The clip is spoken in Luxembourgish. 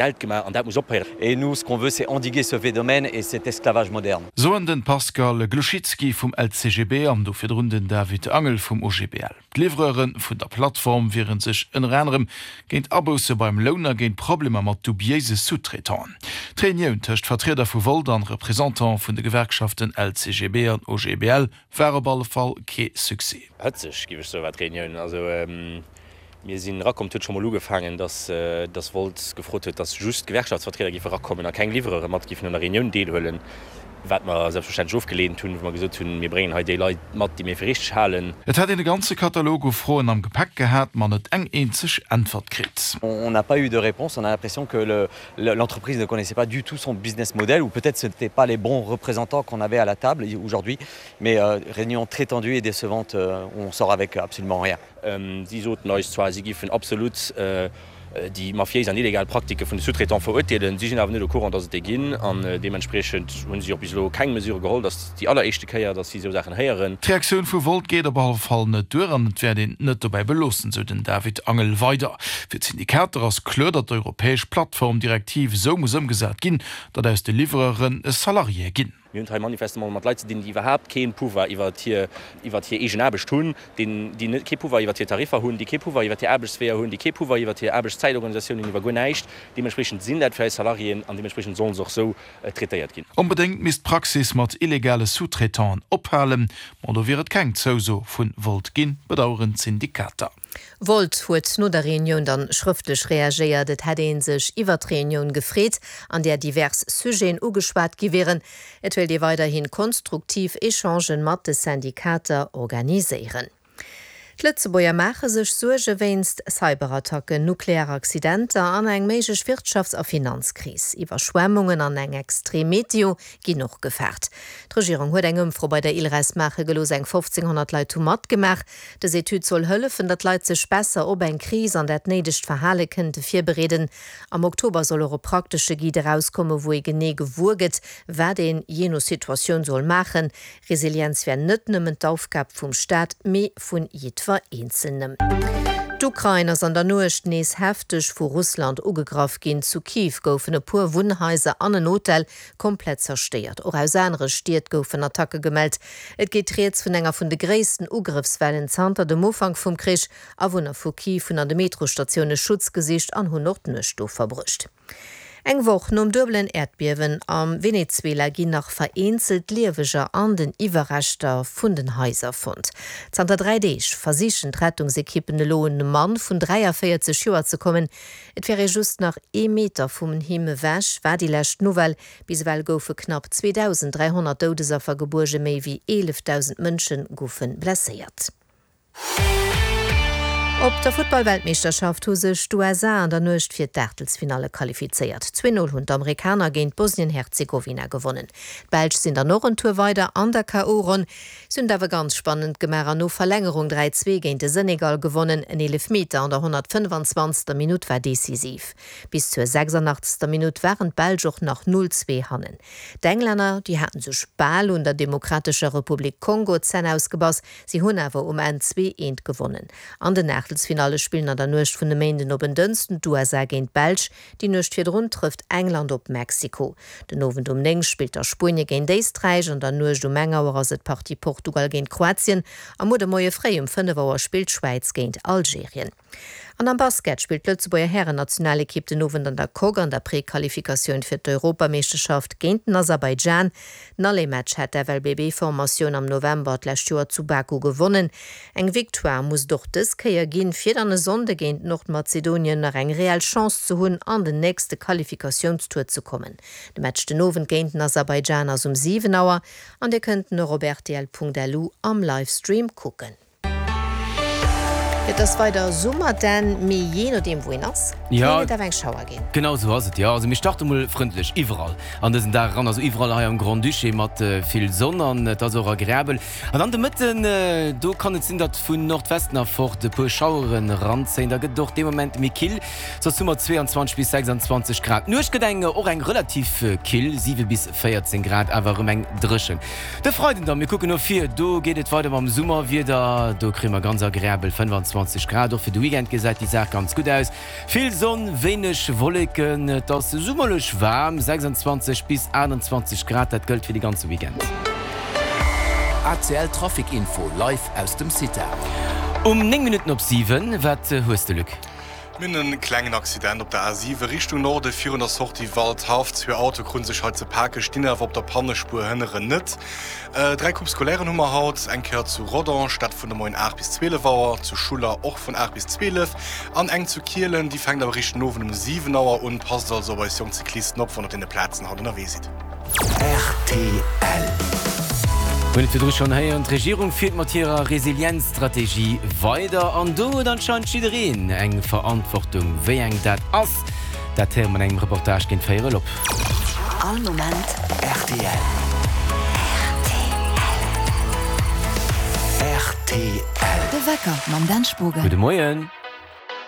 Geld gemaach an dat muss ophéieren. Et nous, ce qu'on veut, c'est endiguer ce phénomène et cet esclavage moderne. Soen den Pascal Gluchizki vum LCGB an do virdrun den David Angel vum OGBL. D'Livreure vun der Plattform wiere sech ënner anerem géint Abousse beim Loun a géint Problemer mat dubiéise Sous-traitanten. D'Reunioun tëscht Vertrieder vu Volt an Représentant vun de Gewerkschaften LCGB an OGBL war op alle Fall kee Succès. Hëtzeg, géif ech soen, war d'Reunioun. Also Mir sinn erakomm, et huet scho mol ugefaangen, dass dass Wolt gefrot huet, dass just d'Gewerkschaftsvertrieder géife erakommen a keng Livreure mat géifen un der Reunioun deelhuelen, wat mer selbstverständlech ofgeleent hunn, wou mer gesot hunn, mir bréngen hei déi Leit mat, déi mir fir richteg halen. Et hätt een e ganze Katalog u Froen am Gepäck gehat, ma net eng eenzeg Äntwert kritt. On n'a pas eu de réponse, on a l'impression que l'entreprise ne connaissait pas du tout son business model ou peut-être ce n'étaient pas les bons représentants qu'on avait à la table aujourd'hui, mais réunion très tendue et décevante où on sort avec absolument rien. Si soten eis zwar, si giffen absolut déi mafiéis an illegal Praktike vun de Sous-traitants verurteelen, si sinn awer net au courant, datt et déi ginn an deementspriechend hu si och bis elo keng Mesure geholl. Dat ass déi alleréischte Kéier, datt si esou Saachen héieren. D'Reaktioun vu Volt geet op alle Fall net duer an et wäert een et net dobäi beloossen, sou den David Angel weider. Fir d'Syndikater ass kloer, datt d'europäesch Plattformdirektiv esou muss ëmgesat ginn, datt aus de Livreure Salariéë ginn. Mir hunn et hei manifestement mat Leit ze dinn, déi iwwerhaapt kee Pouvoir iwwert hir, iwwert hir eegen Aarbecht hunn, déi, déi net, kee Pouvoir iwwert hir Tariffer hunn, déi kee Pouvoir iwwert hir Aarbechtsweeër hunn, déi kee Pouvoir iwwert hir Aarbechtszäitorganisatioun hunn, iwwer guer näischt. Deementspreechend sinn dat fir eis Salariéen an deementspreechend sollen se och esou traitéiert ginn. Onbedéngt misst d'Praxis mat illegale Sous-traitanten ophalen. Ma do wier et keng Zouso vu Volt ginn, bedaueren d'Syndikater. Volt huet no der Reunioun dann schrëftlech reagéiert. Et hätt ee sech iwwer d'Reunioun gefreet, an där divers Sujeten ugeschwat gi wieren. Et wéilt ee weiderhi konstruktiv Echangen mat de Syndikater organiséieren. D'Lëtzebuerger maache sech Suerge wéinst Cyberattacken, nuklear Accidenter an eng méiglech Wirtschafts a Finanzkris. Iwwerschwemmungen an eng extrem Meteo ginn och gefaart. D'Regierung huet eng Ëmfro bei der ILRES maache gelooss. Eng 1.500 Leit hu matgemaach. Dës Etüd soll hëllefen, datt d'Leit sech besser op eng Kris an dat néidegt Verhale kënnte virbereeden. Am Oktober soll och e praktesche Guide erauskommen, wou ee genee gewuer gëtt, wat een jee no Situatioun soll maachen. Resilienz wär net nëmmen d'Aufgab vum Staat, mee vun jiddwer Eenzelnem. D'Ukrain ass an der Nuecht nees hefteg vu Russland ugegraff ginn. Zu Kiew goufen e puer Wunnhaiser an en Hotel komplett zerstéiert. Och aus anere Stied goufen Attacke gemellt. Et geet rieds vun enger vun de gréissten Ugrëffswellen zanter dem Ufank vum Krich. Awunner vu Kiew hunn an de Metrosstatioune Schutz gesicht an hunn och d'Nuecht do verbruecht. Eng Woch nom duebelen Äerdbiewen am Venezuela ginn nach vereenzelt Lieweger an den Iwwerreschter vun den Haiser fonnt. Zanter 3 Deeg versichen d'Rettungsekippen elo un e Mann vun 43 Joer ze kommen. Et wär ee just nach ee Meter vum him ewech, war déi lescht Nouvelle. Bis ewell goufe knapp 2.300 Doudesaffer gebuergen, méi wéi 11.000 Mënsche goufe blesséiert. Op der Futtball-Weltmeeschterschaft hu sech d'USA an der Nuecht fir d'Aachtelsfinalle qualifizéiert. 2 0 hunn d'Amerikaner géint Bosnien-Herzegowina gewonnen. D'Belsch sinn dann och en Tour weider an der KO-Ronn. Si hunn et awer ganz spannend gemaach an no Verlängerung 3 2 géint de Senegal gewonnen. En Eelefmeter an der 125. Minutt war decisiv. Bis zur 86. Minutt waren d'Belsch och nach 0, 2 hannen. D'Englänner, déi haten sech bal un der Demokratescher Republik Kongo d'Zänn ausgebass, si hunn awer um Enn 2, 1 gewonnen. An den Aachtelsfinalle spillen an der Nuecht vun e Méinden op en Dënschden d'USA géint d'Belsch. Déi Nuecht virdrun trëfft England op Mexiko. Den Owend um 9 spillt da Spuenie géint Éisträich, an der Nuecht um eng Auer ass et d'Partie Portugal géint Kroatien a muer de Moie fréi um 5 Auer spillt d'Schwäiz géint Algerien. An am Basket spillt d'Lëtzebuerger Härennationalekipp den Owend an der Coque an der Prequalifikatioun fir d'Europameeschterschaft géint den Aserbaidschan. Den Aller-Match hat d'FLBB-Formatioun am November d'lescht Joer zu Baku gewonnen. Eng Victoire muss et och dës Kéier ginn, fir dann e Sonnde géint Nordmazedonien nach eng reell Chance ze hunn, an den nächste Qualifikatiounstour ze kommen. De Match den Owend géint den Aserbaidschan ass um 7 Auer an Dir kënnt en och op rtl.lu am Livestream kucken. Et ass weider Summer, denn mee jee nodeem wou een ass, kéint et awer eng Schauer ginn. Genau esou ass et, jo. Also mir starte mol frëndlech iwwerall an dësen Dag eran, also iwwerall hei am Grand-Duché mat vill Sonn an et ass och agreabel. An dann de Mëtten, do kann et sinn, datt vun Nordwesten erfort e puer Schaueren eranzéien, da gëtt et och dee Moment méi kill, soss hu mer 22 bis 26 Grad. D'Nuecht gëtt eng och eng relativ kill, 7 bis 14 Grad, awer erëm eng dréchen. De Freiden dann, mir kucken no vir, do geet et weider mam Summerwieder, do kréie mer ganz agreabel 25. 26 Grad. Och fir de Weekend gesäit déi Saach ganz gutt aus. Vill Sonn, wéineg Wolleken, et ass summerlech waarm, 26 bis 28 Grad, dat gëllt fir de ganze Weekend. ACL Trafic Info live aus dem CITA. Um 9 Minutten op 7, wat hues de Luc? Mir hunn e klengen Accident op der A7 Richtung Norde virun der Sortie Waldhaff. Zwee Autoe krute sech hei ze pake, stinn awer op der Pannespuer, hënneren net. Dräi Coupes scolairen hu mer haut, eng Kéier zu Rodange, dat vun de Moien 8 bis 12 Auer, zu Schuller och vun 8 bis 12 an eng zu Kielen, déi fänkt awer eréischt den Owend um 7 Auer un. Passt also op eis jonk Cyclisten op, wann der op deene Plazen haut ënnerwee sidd. Rtl. Mir hunn et virdru schonn héieren, D'Regierung fiert mat hirer Resilienzstrategie weider an do huet anscheinend jiddereen eng Verantwortung. Wéi eng dat ass, dat héiere mer an engem Reportage géint véierel op. All Moment rtl. Rtl. De Wecker mam Dan Spogen. Gudde Moien.